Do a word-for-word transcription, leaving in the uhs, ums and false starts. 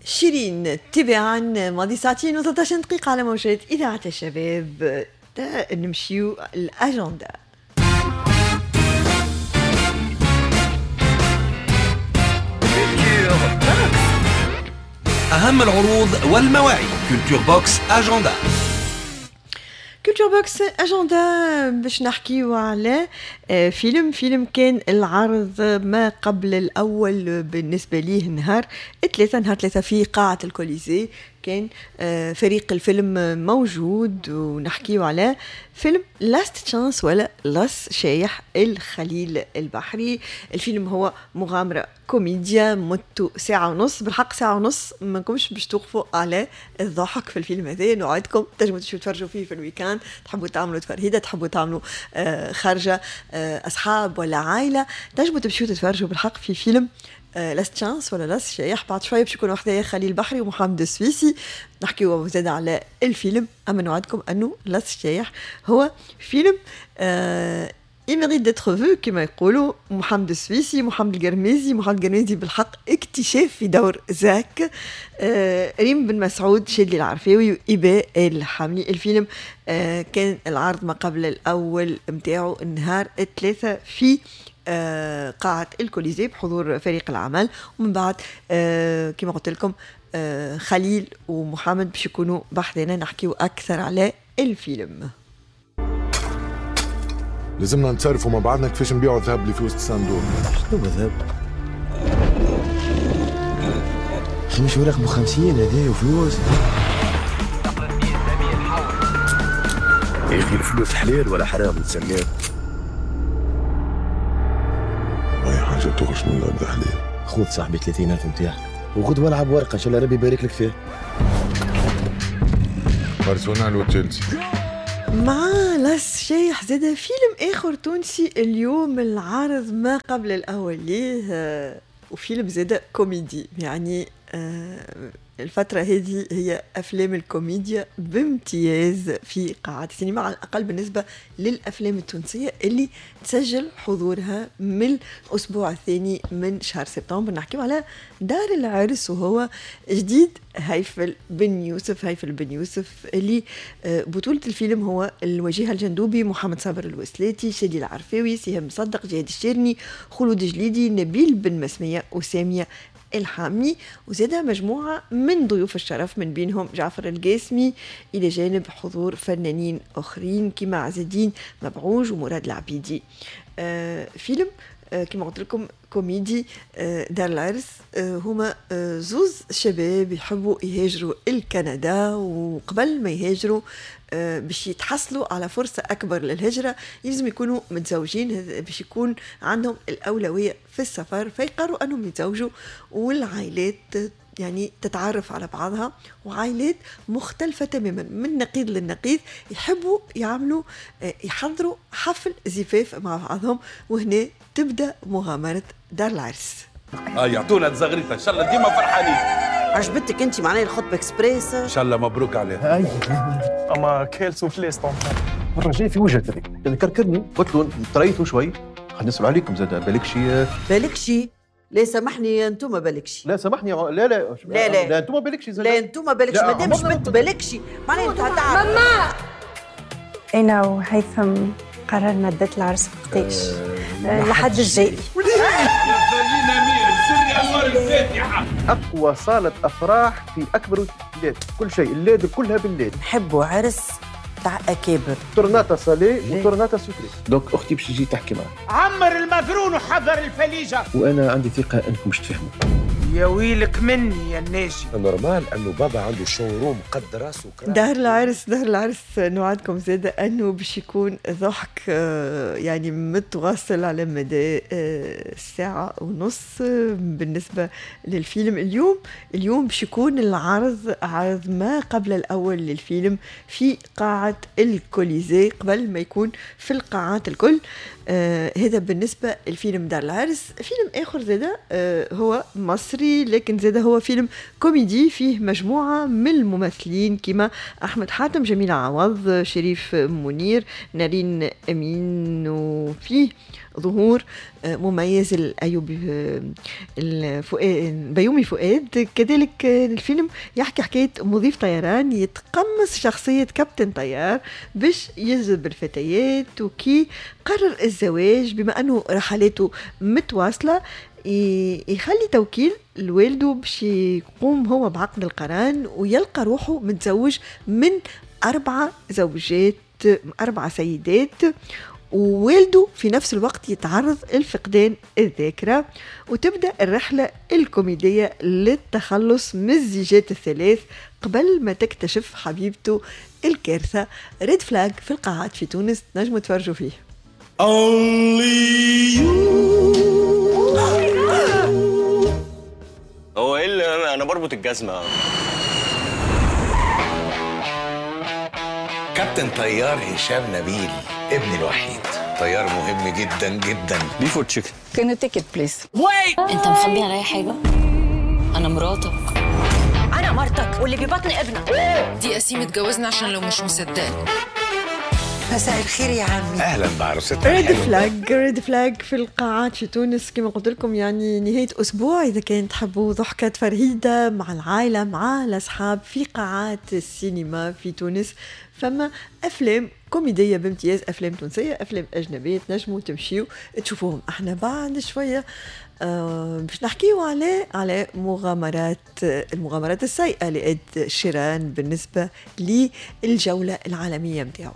شيرين تباعا. ماضي ساعتين وثلاثة عشر دقيقة على موجات إذاعة الشباب. نمشيو الأجندة. أهم العروض والمواعيد، Culture Box agenda. Culture Box agenda، باش نحكيو على آه، فيلم فيلم كان العرض ما قبل الاول بالنسبة ليه نهار ثلاثة، نهار ثلاثة في قاعة الكوليزي كان آه، فريق الفيلم موجود، ونحكيو على فيلم Last Chance ولا لاس شايح الخليل البحري. الفيلم هو مغامرة كوميديا مدته ساعة ونص. بالحق ساعة ونص ما نكمش باش توقفوا على الضحك في الفيلم هذا. نوعدكم تنجموا تمشوا تفرجوا فيه في ال week-end، تحبوا تعملوا تفرهيدة، تحبوا تعملوا آه، خارجة آه، أصحاب ولا عائلة، تنجموا تمشوا تتفرجوا بالحق في فيلم Last Chance ولا لاس شايح. بعد شوية باش يكونوا حدايا خليل بحري ومحمد السويسي، نحكيو زاد على الفيلم. اما نوعدكم انه لاس شايح هو فيلم آه il mérite d'être vu كما يقولوا. محمد السويسي، محمد القرميزي، محمد القرميزي بالحق اكتشاف في دور زاك، آه ريم بن مسعود، شادلي العرفاوي وإباء الحملي. الفيلم آه كان العرض ما قبل الأول متاعو النهار الثلاثة في آه قاعة الكوليزي بحضور فريق العمل، ومن بعد آه كما قلت لكم آه خليل ومحمد باش يكونوا بحذنا نحكيو أكثر على الفيلم. لازمنا نتصرفوا مع بعضنا كيفاش نبيعوا الذهب اللي في وسط الصندوق. شنو الذهب؟ اخي مش ورق ب خمسين هذا وفلوس. يا اخي الفلوس حلال ولا حرام نتسناو؟ اي حاجة تخرج من الارض حلال. خذ صاحبي ثلاثين ألف نتاعك وغدوه العب ورقة، ان شاء الله ربي يبارك لك فيه. ارسنال وتشيلسي. مع لاس شايح زاد فيلم اخر تونسي اليوم العرض ما قبل الاول ليه، وفيلم زاد كوميدي. يعني آه، الفترة هذه هي أفلام الكوميديا بامتياز في قاعات السينما، على الأقل بالنسبة للأفلام التونسية اللي تسجل حضورها من الأسبوع الثاني من شهر سبتمبر. نحكيو على دار العرس، وهو جديد هيفل بن يوسف. هيفل بن يوسف اللي آه، بطولة الفيلم هو الوجيه الجندوبي، محمد صابر الوسلاتي، شادي العرفاوي، سهام مصدق، جهاد الشيرني، خلود جليدي، نبيل بن مسمية وسامية الحامي، وزادها مجموعة من ضيوف الشرف من بينهم جعفر القاسمي، إلى جانب حضور فنانين آخرين كما عز الدين مبعوج ومراد العبيدي. آه فيلم آه كما قلت لكم كوميدي. آه دار العرس آه هما آه زوز شباب يحبوا يهاجروا الكندا، وقبل ما يهاجروا آه باش يتحصلوا على فرصة أكبر للهجرة يلزم يكونوا متزوجين باش يكون عندهم الأولوية في السفر، فيقرروا أنهم يتزوجوا، والعائلات يعني تتعرف على بعضها، وعائلات مختلفة تماما من نقيض للنقيض يحبوا يعملوا يحضروا حفل زفاف مع بعضهم، وهنا تبدأ مغامرة دار العرس. اه يعطونا تزغريطة، ان شاء الله ديما فرحانين. عجبتك انت معناها الخطبة اكسبريس؟ ان شاء الله مبروك عليها. اما quelle soufflette المرة الجاية في وجهك هذيك كركرني، قلت له طريته شوي، خلينا نسأل عليكم زاد بالك شي بالك شي. لا سامحني انتم بالكشي. لا سامحني، لا لا لا لا لا انتم بالكشي، لا انتم بالكشي، مادام جبت بالكشي معناها انت تعرف. ماما انا وهيثم قررنا date العرس وقتاش؟ لحد الجاي. اقوى صاله افراح في اكبر بلاد، كل شيء ال LED كلها بال LED. نحبوا عرس تاع اكابر، tornata salée و tornata sucrée. donc اختي باش تجي تحكي معك. عمر المفرون وحضر الفليجه، وانا عندي ثقة انكم باش تفهموا. يا ويلك مني يا الناجي. normal انه بابا عنده showroom قد راسه. دار العرس، دار العرس نوعدكم زاده انه باش يكون ضحك يعني متواصل على مدى ساعة ونص بالنسبة للفيلم. اليوم اليوم باش يكون العرض عرض ما قبل الاول للفيلم في قاعة الكوليزي قبل ما يكون في القاعات الكل. آه هذا بالنسبة للفيلم دار العرس. فيلم اخر زاده آه هو مصري المصري، لكن زاد هو فيلم كوميدي فيه مجموعة من الممثلين كما أحمد حاتم، جميلة عوض، شريف منير، نارين أمين، وفيه ظهور مميز الأيوبي بيومي فؤاد. كذلك الفيلم يحكي حكاية مضيف طيران يتقمص شخصية كابتن طيار باش يجذب الفتيات، وكي قرر الزواج بما أنه رحلاته متواصلة يخلي توكيل لوالده باش يقوم هو بعقد القران، ويلقى روحه متزوج من أربعة زوجات، أربعة سيدات، ووالده في نفس الوقت يتعرض لفقدان الذاكرة. وتبدأ الرحلة الكوميدية للتخلص من الزيجات الثلاث قبل ما تكتشف حبيبته الكارثة. Red Flag في القاعات في تونس، نجموا تفرجوا فيه. Only you. هو ايه اللي انا بربط الجزمة؟ كابتن طيار هشام نبيل، ابني الوحيد، طيار مهم جدا جدا. Beef or chicken؟ Can you take it please؟ انت مخبي عليا حاجة؟ انا مراتك. انا مرتك واللي ببطن ابنك. دي قسيمه اتجوزنا عشان لو مش مصدقني. مساء الخير يا عمي. اهلا بعروستنا. Red Flag، Red Flag في القاعات في تونس كما قلت لكم، يعني نهاية اسبوع اذا كان تحبوا ضحكه فرهيده مع العائلة مع الاصحاب في قاعات السينما في تونس، فما افلام كوميدية بامتياز، افلام تونسية، افلام اجنبية، تنجموا تمشيو تشوفوهم. احنا بعد شوية آه باش نحكيو على على مغامرات المغامرات السيئة لإد شيران بالنسبة للجوله العالمية نتاعو.